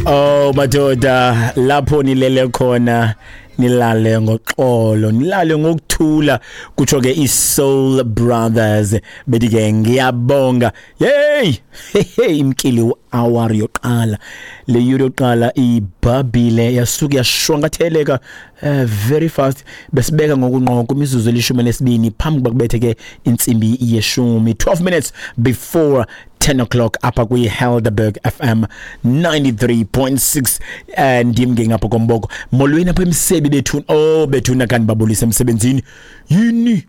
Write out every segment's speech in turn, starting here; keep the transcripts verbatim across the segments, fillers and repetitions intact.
Oh madoda, lapho nilele khona nilale ngoxolo, nilale ngokuthula, kutsho ke iSoul Brothers. Bethi ke ngiyabonga. Hey, hey, imkili hour yoqala, le yure yoqala ibhabhile, yasuka yashwankatheleka uh, very fast. Besibeka ngokunqo kwimizuzu elishumi nesibini phambi kuba kubethe ke intsimbi yeshumi, twelve minutes before ten o'clock apha kwi-Helderberg F M ninety-three point six. eh ndim ke ngapha komboko. Molweni apha emsebi bethuna. Oh bethuna, kanti babulisa emsebenzini. Yini,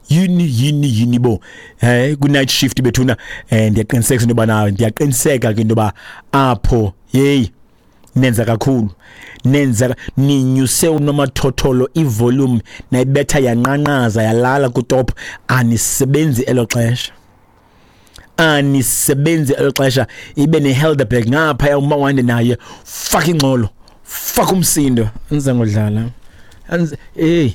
yini, yini, yini bo? Eh ku night shift bethuna. Eh ndiyaqiniseka into yoba, ndiyaqiniseka ke into yoba apho, hey, nenza kakhulu, nenza, ninyuse unomathotholo, ivolume nayibetha yanqanqaza yalala kutop. Anisebenzi elo xesha, anisebenzi elo xesha. Ibe neHelderberg ngapha, umawande naye faka ingxolo, faka umsindo. Andize ngodlala. Hey,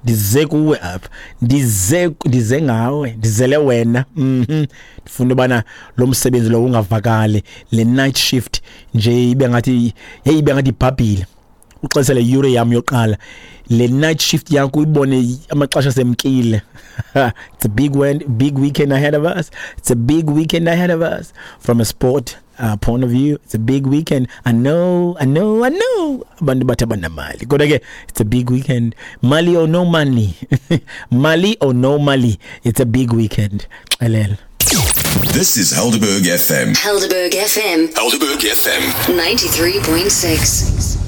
ndize kuwe apha, ndize ndize ngawe, ndizele wena. mhm ndifuna ubana lo msebenzi lo ungavakali, le night shift nje ibe ngathi, hey, ibe ngathi ibhabhile. Uxesha yure yam yoqala, le night shift yakho uyibone amaxesha semkile. It's a big one, big weekend ahead of us. It's a big weekend ahead of us from a sport uh, point of view. It's a big weekend. I know, I know, I know abantu bathi abanamali, kodwa ke it's a big weekend, money or no money, money or no money, it's a big weekend. Xelela. This is Helderberg F M. Helderberg F M. Helderberg F M. ninety-three point six.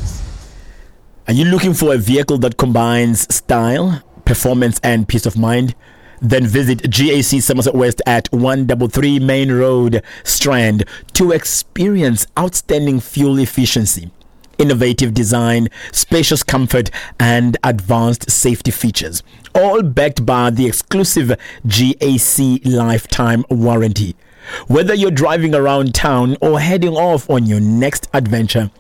Are you looking for a vehicle that combines style, performance, and peace of mind? Then visit G A C Somerset West at one three three Main Road, Strand, to experience outstanding fuel efficiency, innovative design, spacious comfort, and advanced safety features, all backed by the exclusive G A C lifetime warranty. Whether you're driving around town or heading off on your next adventure,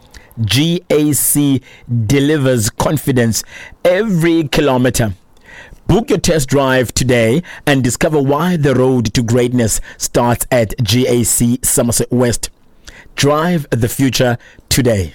G A C delivers confidence every kilometer. Book your test drive today and discover why the road to greatness starts at G A C Somerset West. Drive the future today.